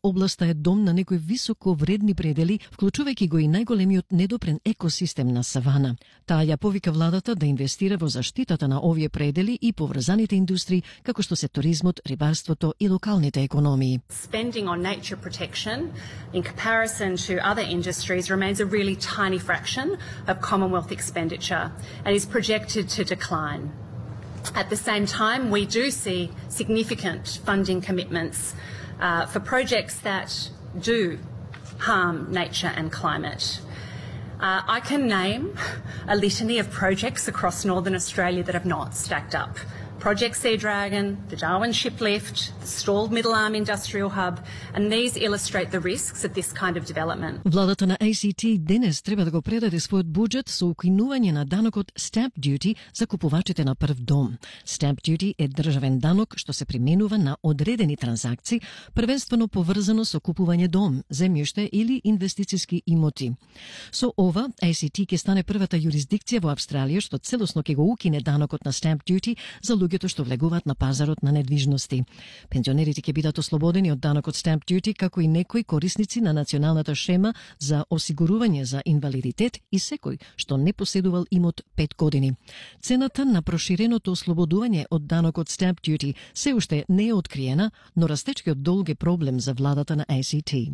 Областа е дом на некои високо вредни предели, вклучувајќи го и најголемиот недопрен екосистем на савана. Таа ја повика владата да инвестира во заштитата на овие предели и поврзаните индустрии, како што се туризмот, рибарството и локалните економии. Spending on nature protection in comparison to other industries remains a really tiny fraction of Commonwealth expenditure and is projected to decline. At the same time, we do see significant funding commitments for projects that do harm nature and climate. I can name a litany of projects across Northern Australia that have not stacked up. Project Sea Dragon, the Darwin Shiplift, the stalled Middle Arm Industrial Hub, and these illustrate the risks of this kind of development. Владата на ACT денес треба да го предаде својот буџет со укинување на данокот Stamp Duty за купувачите на прв дом. Stamp Duty е државен данок што се применува на одредени транзакции, првенствено поврзано со купување дом, земјиште или инвестициски имоти. Со ова, ACT ќе стане првата юрисдикција во Австралија што целосно ќе го укине данокот на Stamp Duty за луѓето што влегуваат на пазарот на недвижности. Пензионерите ќе бидат ослободени од данокот Stamp Duty, како и некои корисници на националната шема за осигурување за инвалидитет и секој што не поседувал имот 5 години. Цената на проширеното ослободување од данокот Stamp Duty се уште не е откриена, но растечкиот долг е проблем за владата на ACT.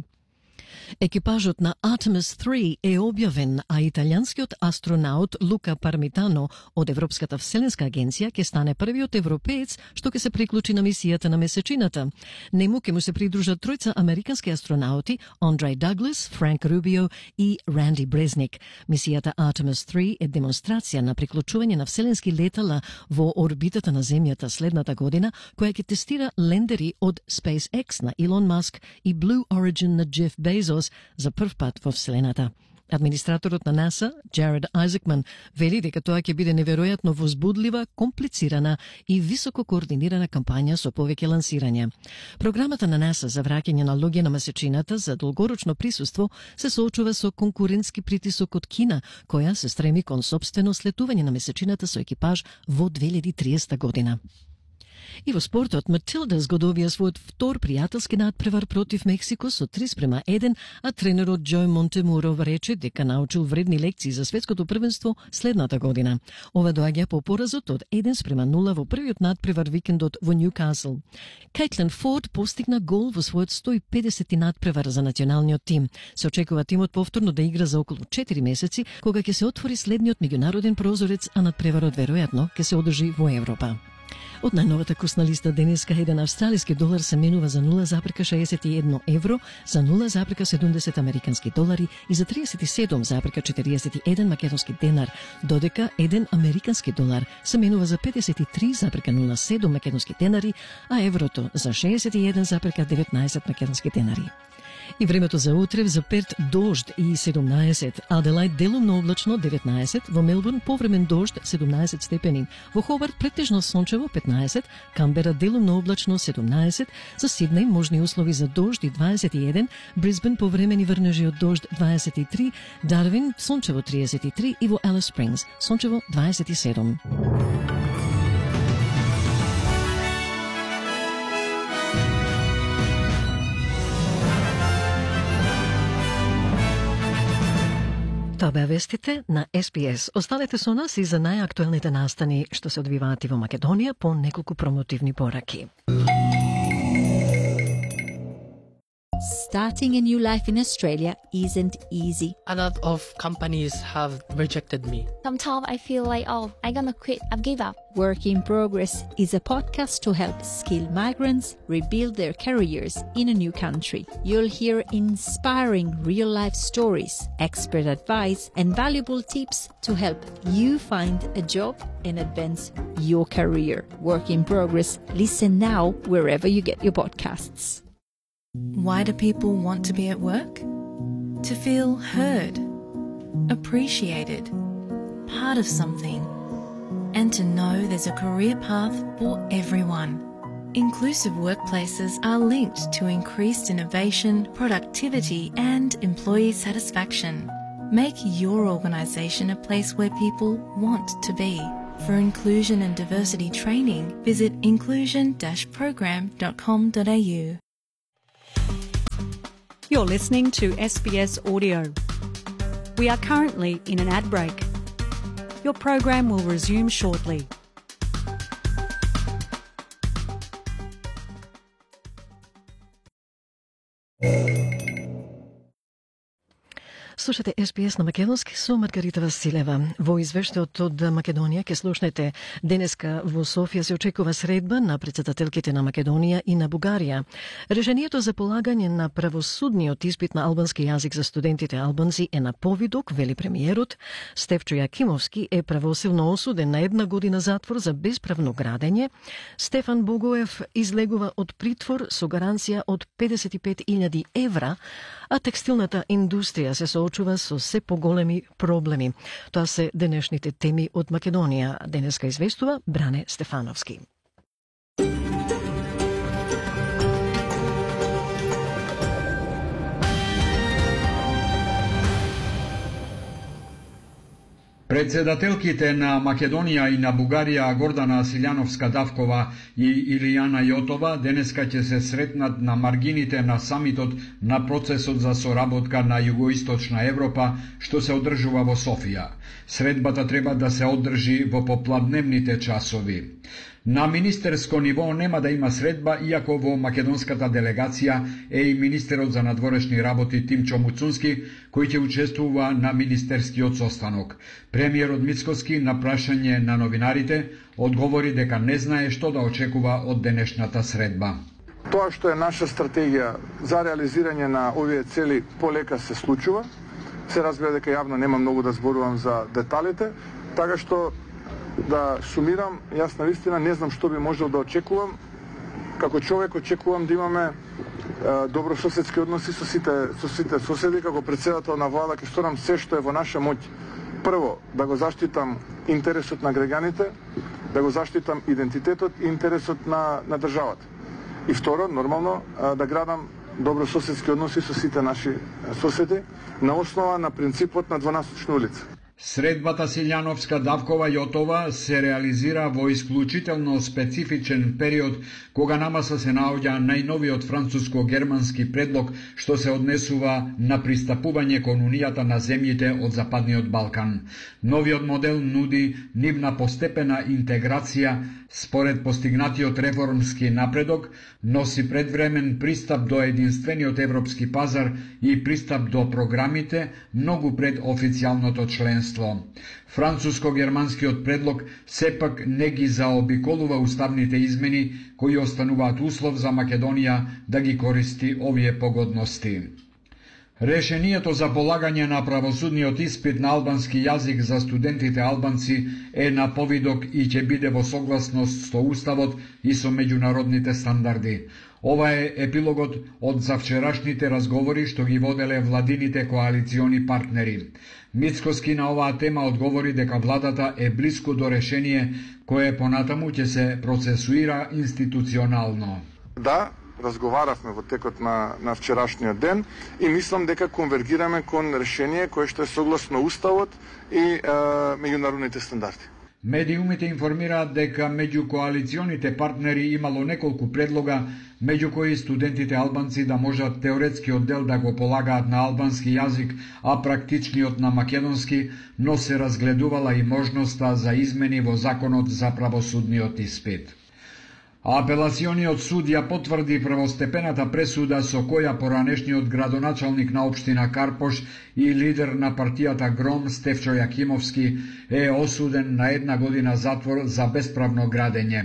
Екипажот на Artemis 3 е објавен, а италијанскиот астронаут Лука Пармитано од Европската вселенска агенција ќе стане првиот европеец што ќе се приклучи на мисијата на месечината. Нему ќе му се придружат тројца американски астронаути, Андрей Даглас, Франк Рубио и Ранди Брезник. Мисијата Artemis 3 е демонстрација на приклучување на вселенски летала во орбитата на Земјата следната година, која ќе тестира лендери од SpaceX на Илон Маск и Blue Origin на Джеф Безос за прв пат во Вселената. Администраторот на НАСА, Джаред Айзекман, вели дека тоа ќе биде неверојатно возбудлива, комплицирана и високо координирана кампања со повеќе лансирања. Програмата на НАСА за враќање на луѓе на месечината за долгорочно присуство се соочува со конкурентски притисок од Кина, која се стреми кон сопствено слетување на месечината со екипаж во 2030 година. И во спортот, Матилдас го добија својот втор пријателски надпревар против Мексико со 3:1, а тренерот Џој Монтемуро рече дека научил вредни лекции за светското првенство следната година. Ова доаѓа по поразот од 1:0 во првиот надпревар викендот во Ньюкасл. Кейтлин Форд постигна гол во својот 150-ти надпревар за националниот тим. Се очекува тимот повторно да игра за околу 4 месеци, кога ќе се отвори следниот меѓународен прозорец, а надпреварот веројатно ќе се одржи во Европа. Од најновата курсна листа денеска еден австралиски долар се менува за 0,61 евро, за 0,70 американски долари и за 37,41 македонски денар, додека еден американски долар се менува за 53,07 македонски денари, а еврото за 61,19 македонски денари. И времето за утре: за Перт дожд и 17, Аделајд делумно облачно 19, во Мелбурн повремен дожд 17 степени, во Хобарт претежно сончево 15, Камбера делумно облачно 17, за Сиднеј можни услови за дожд и 21, Брисбен повремени врнежи од дожд 23, Дарвин сончево 33 и во Алис Спрингс сончево 27. Тоа беа вестите на СПС. Останете со нас и за најактуелните настани што се одвиваат и во Македонија по неколку промотивни пораки. Starting a new life in Australia isn't easy. A lot of companies have rejected me. Sometimes I feel like, I'm gonna quit, I've give up. Work in Progress is a podcast to help skilled migrants rebuild their careers in a new country. You'll hear inspiring real-life stories, expert advice, and valuable tips to help you find a job and advance your career. Work in Progress. Listen now wherever you get your podcasts. Why do people want to be at work? To feel heard, appreciated, part of something, and to know there's a career path for everyone. Inclusive workplaces are linked to increased innovation, productivity, and employee satisfaction. Make your organisation a place where people want to be. For inclusion and diversity training, visit inclusion-program.com.au. You're listening to SBS Audio. We are currently in an ad break. Your program will resume shortly. Слушате SBS на македонски со Маргарита Василева. Во извештајот од Македонија ке слушнете денеска во Софија се очекува средба на претседателките на Македонија и на Бугарија. Решението за полагање на правосудниот испит на албански јазик за студентите албанци е на повидок, вели премиерот. Стефчо Јакимовски е правосилно осуден на 1 година затвор за бесправно градење. Стефан Богоев излегува од притвор со гаранција од 55.000 евра, а текстилната индустрија се соочува со се поголеми проблеми. Тоа се денешните теми од Македонија. Денеска известува Бране Стефановски. Председателките на Македонија и на Бугарија Гордана Силјановска-Давкова и Илијана Јотова денеска ќе се сретнат на маргините на самитот на процесот за соработка на Југоисточна Европа, што се одржува во Софија. Средбата треба да се одржи во попладневните часови. На министерско ниво нема да има средба, иако во македонската делегација е и министерот за надворешни работи Тимчо Муцунски, кој ќе учествува на министерскиот состанок. Премиерот Мицкоски на прашање на новинарите одговори дека не знае што да очекува од денешната средба. Тоа што е наша стратегија за реализирање на овие цели полека се случува. Се разбира дека јавно нема многу да зборувам за деталите, така што да сумирам, јас навистина не знам што би можел да очекувам. Како човек очекувам да имаме добрососедски односи со сите соседи. Како председател на влада ќе сторам се што е во наша моќ. Прво, да го заштитам интересот на граѓаните, да го заштитам идентитетот и интересот на државата. И второ, нормално, да градам добрососедски односи со сите наши соседи на основа на принципот на 12 улица. Средбата Силјановска-Давкова Јотова се реализира во исклучително специфичен период, кога на маса се наоѓа најновиот француско-германски предлог што се однесува на пристапување кон унијата на земјите од Западниот Балкан. Новиот модел нуди нивна постепена интеграција според постигнатиот реформски напредок, носи предвремен пристап до единствениот европски пазар и пристап до програмите многу пред официјалното членство. Француско-германскиот предлог сепак не ги заобиколува уставните измени кои остануваат услов за Македонија да ги користи овие погодности. Решението за полагање на правосудниот испит на албански јазик за студентите албанци е на повидок и ќе биде во согласност со уставот и со меѓународните стандарди. Ова е епилогот од завчерашните разговори што ги воделе владините коалициони партнери. Мицкоски на оваа тема одговори дека владата е блиску до решение кое понатаму ќе се процесуира институционално. Да, разговаравме во текот на вчерашниот ден и мислам дека конвергираме кон решение кое што е согласно уставот и меѓународните стандарди. Медиумите информираат дека меѓу коалиционите партнери имало неколку предлога, меѓу кои студентите албанци да можат теоретскиот дел да го полагаат на албански јазик, а практичниот на македонски, но се разгледувала и можноста за измени во законот за правосудниот испит. Апелациониот суд ја потврди првостепената пресуда со која поранешниот градоначалник на општина Карпош и лидер на партијата Гром Стефчо Јакимовски е осуден на 1 година затвор за бесправно градење.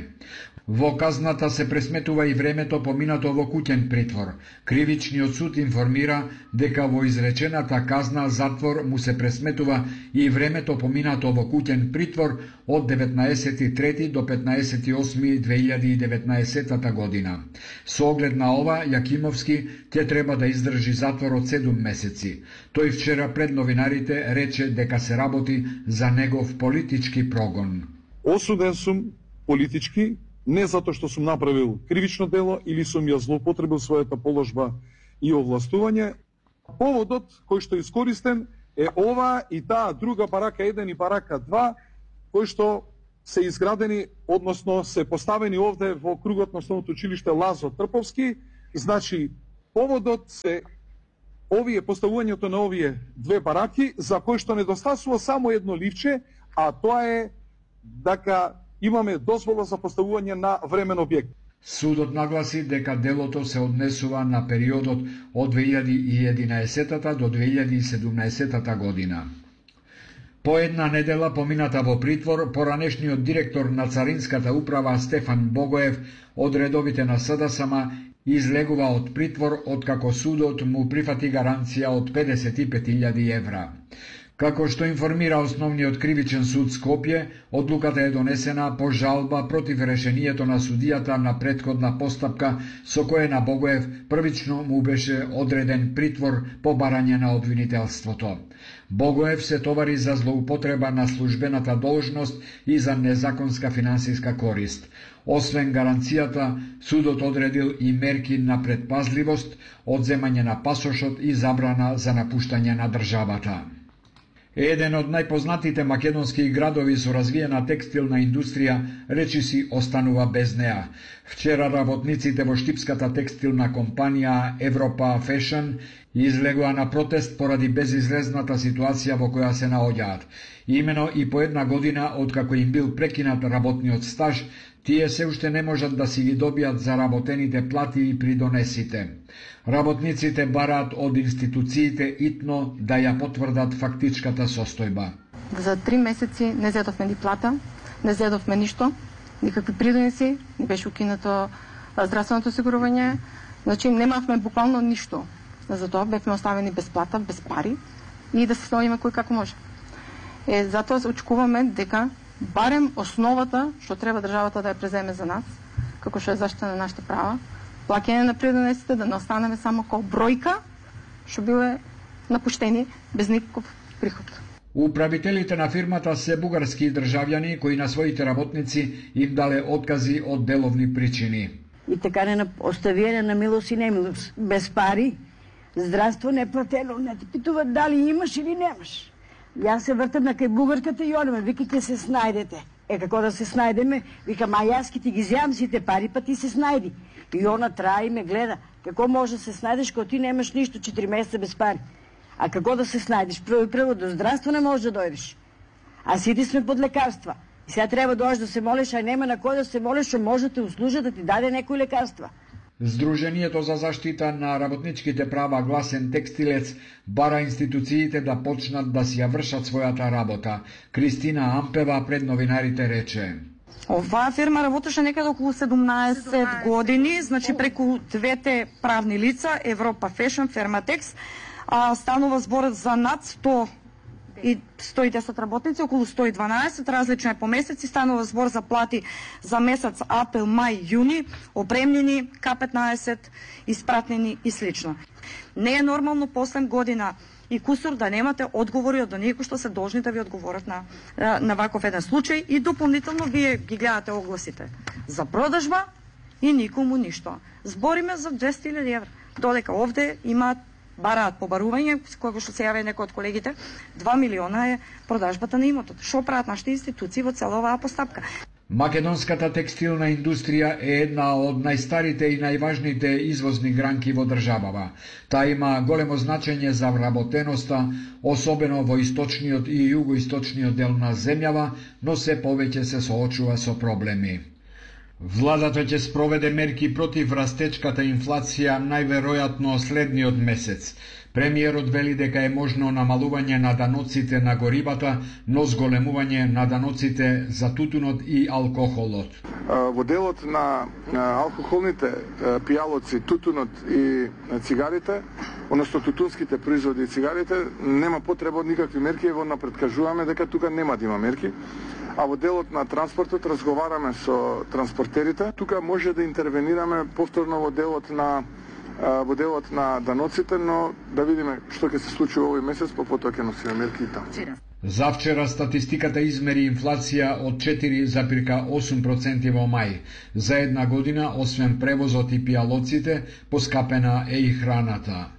Во казната се пресметува и времето поминато во куќен притвор. Кривичниот суд информира дека во изречената казна затвор му се пресметува и времето поминато во куќен притвор од 19.3. до 15.8.2019 година. Со оглед на ова, Јакимовски ќе треба да издржи затвор од 7 месеци. Тој вчера пред новинарите рече дека се работи за негов политички прогон. Осуден сум политички, не затоа што сум направил кривично дело или сум ја злоупотребил својата положба и овластување. Поводот кој што искористен е ова и таа друга парака 1 и парака 2, кои што се изградени, односно се поставени овде во кругот на Основното училиште Лазо Трповски. Значи, поводот се поставувањето на овие две бараки, за кои што недостасува само едно ливче, а тоа е дека имаме дозвола за поставување на времен објект. Судот нагласи дека делото се однесува на периодот од 2011 до 2017 година. По една недела помината во притвор, поранешниот директор на Царинската управа Стефан Богоев од редовите на СДСМ излегува од притвор откако судот му прифати гаранција од 55.000 евра. Како што информира Основниот кривичен суд Скопје, одлуката е донесена по жалба против решението на судијата на претходна постапка со кое на Богоев првично му беше одреден притвор по барање на обвинителството. Богоев се товари за злоупотреба на службената должност и за незаконска финансиска корист. Освен гаранцијата, судот одредил и мерки на предпазливост, одземање на пасошот и забрана за напуштање на државата. Еден од најпознатите македонски градови со развиена текстилна индустрија речиси останува без неа. Вчера работниците во штипската текстилна компанија Европа Fashion излегоа на протест поради безизлезната ситуација во која се наоѓаат. Имено и по една година откако им бил прекинат работниот стаж, тие се уште не можат да си ги добијат заработените плати и придонесите. Работниците бараат од институциите итно да ја потврдат фактичката состојба. За 3 месеци не зедовме ни плата, не зедовме ништо, никакви придонеси, не беше укинато здравственото осигурување, значи немавме буквално ништо. Затоа бевме оставени без плата, без пари и да се сноиме кој како може. Затоа очекуваме дека барем основата што треба државата да ја преземе за нас, како што е заштита на нашите права, плаќање на придонесите, да не останеме само како бројка што биле напуштени без никаков приход. Управителите на фирмата се бугарски државјани кои на своите работници им дале откази од деловни причини. И така не оставиене на милост и немилост, без пари, здравство неплатено, не те питуват дали имаш или немаш. Јас се вртам на кај бугарката и онема, вика ќе се снајдете. Како да се снајдеме? Викам, јас ќе ти ги зјам сите пари, па ти се снајди. И она трае и ме гледа. Како може да се снајдеш кога ти немаш ништо 4 месеца без пари? А како да се снајдеш? Прво до здравство не можеш да дојдеш. А сите сме под лекарства. И сега треба дојдеш да се молиш, а нема на кој да се молиш, што може да те услужи да ти даде некои лекарства. Сдруженијето за заштита на работничките права Гласен текстилец бара институциите да почнат да си ја вршат својата работа. Кристина Ампева пред новинарите рече: Оваа фирма работеше некаде околу 17 години, значи преку двете правни лица, Европа Fashion, Ферматекс, станува збор за над 110 работници, околу 112, различно е по месеци, станува збор за плати за месец април, мај, јуни, опремнени, К-15, испратнени и слично. Не е нормално после година и кусор да немате одговори од оние што се должни да ви одговорат на ваков еден случај и дополнително вие ги гледате огласите за продажба и никому ништо. Збориме за 200.000 евра, додека овде имаат бараат побарување, кога што се јави некој од колегите, 2 милиона е продажбата на имотот. Што прават нашите институции во цела оваа постапка? Македонската текстилна индустрија е една од најстарите и најважните извозни гранки во државава. Таа има големо значење за вработеноста, особено во источниот и југоисточниот дел на земјава, но се повеќе се соочува со проблеми. Владата ќе спроведе мерки против растечката инфлација најверојатно следниот месец. Премиерот вели дека е можно намалување на даноците на горивата, но зголемување на даноците за тутунот и алкохолот. Во делот на алкохолните пијалоци, тутунот и цигарите, односно тутунските производи и цигарите, нема потреба од никакви мерки, во напред кажуваме дека тука нема да има мерки. А во делот на транспортот разговараме со транспортерите. Тука може да интервенираме повторно во делот на даноците, но да видиме што ќе се случи овој месец, потоа ќе носиме мерки и таму. Завчера статистиката измери инфлација од 4,8% во мај. За една година, освен превозот и пијалоците, поскапена е и храната.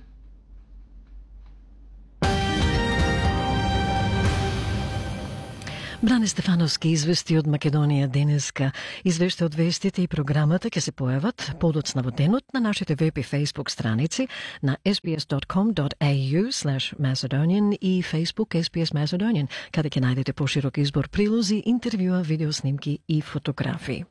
Бране Стефановски извести од Македонија денеска. Извеште од вестите и програмата ќе се појават подоцна во денот на нашите веб и Facebook страници на sbs.com.au/Macedonian и Facebook SBS Macedonian, каде ќе најдете поширок избор прилози, интервјуа, видеоснимки и фотографии.